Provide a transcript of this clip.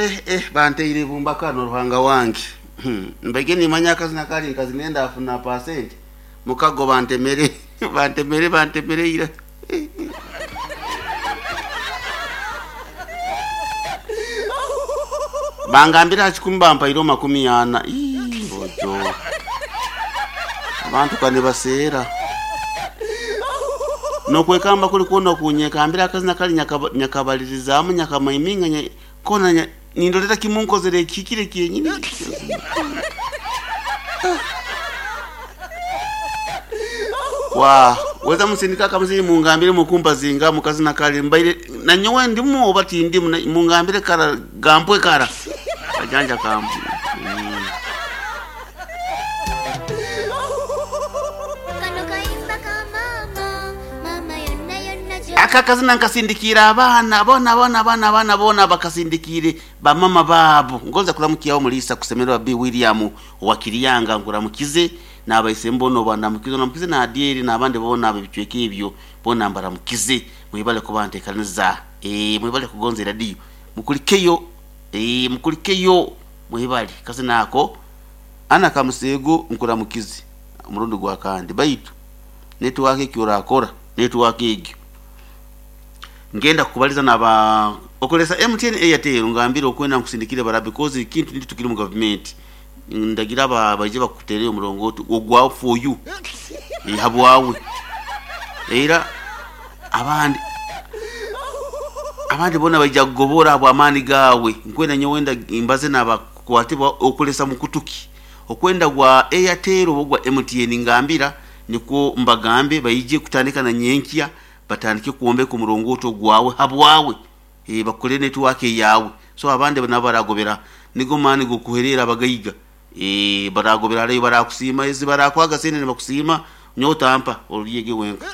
eh eh banteire ibumba kano Ruhanga wange. Mbaige nimanya akazina kali nkazine ndafuna pasenti mukago bantemere bantemere bantemere ira. Bangambira ha 10 bampaire 40. Ii, bojo. Abantu kane baseera. Nokwekamba kuli kuona kunyekambira akazina kali nyakabalirizamu nyakamaiminga kona nindolera kimunkozere kikire kyenyini. Wa weza musindika kamusiri mungambire mukumpa zinga mukazina kali mbaire na nyowe ndimu oba tindimu mungambire kara gampwe kara kajanja kampu. Aka kazina nkasindikira abana bona bona abana abana bona bakasindikire bamama babo. Ngoza kulamukiyaho mulisa kusemerwa B William wa Kiriyanga nguramukize nabaise mbono banamukize namukize na Adieri nabandi bona abicweke ibyo bona mbaramukize mwibale kubantekaniza mwibale kugonza radio mukulikeyo mukulikeyo mwibale kazina ako ana kamusego nkuramukize umurundi gwa kandi baitu network ekyorakora network egyo ngenda kubaliza naba okolesa MTN Airtel ngambira okwenda nkusindikire bara because kintu ndi tukiri mu government ndagira aba baje bakutere omulongo ogwa for you habwawe era abandi bona baija kugobora abo amani gawe nkwenda nyowenda imbaze naba kwatibwa okolesa mukutuki okwenda gwa Airtel ogwa MTN ngambira niko mbagambe baije kutandika na nyenkia batandike kuombeka omulongoto gwawe habwawe bakole network yawe. So abandi nabaragobera nigo mani gokuherera abagaiga baragobera leyo barakusima ezi barakwaga sene ne bakusima nyotampa oliyege wenka.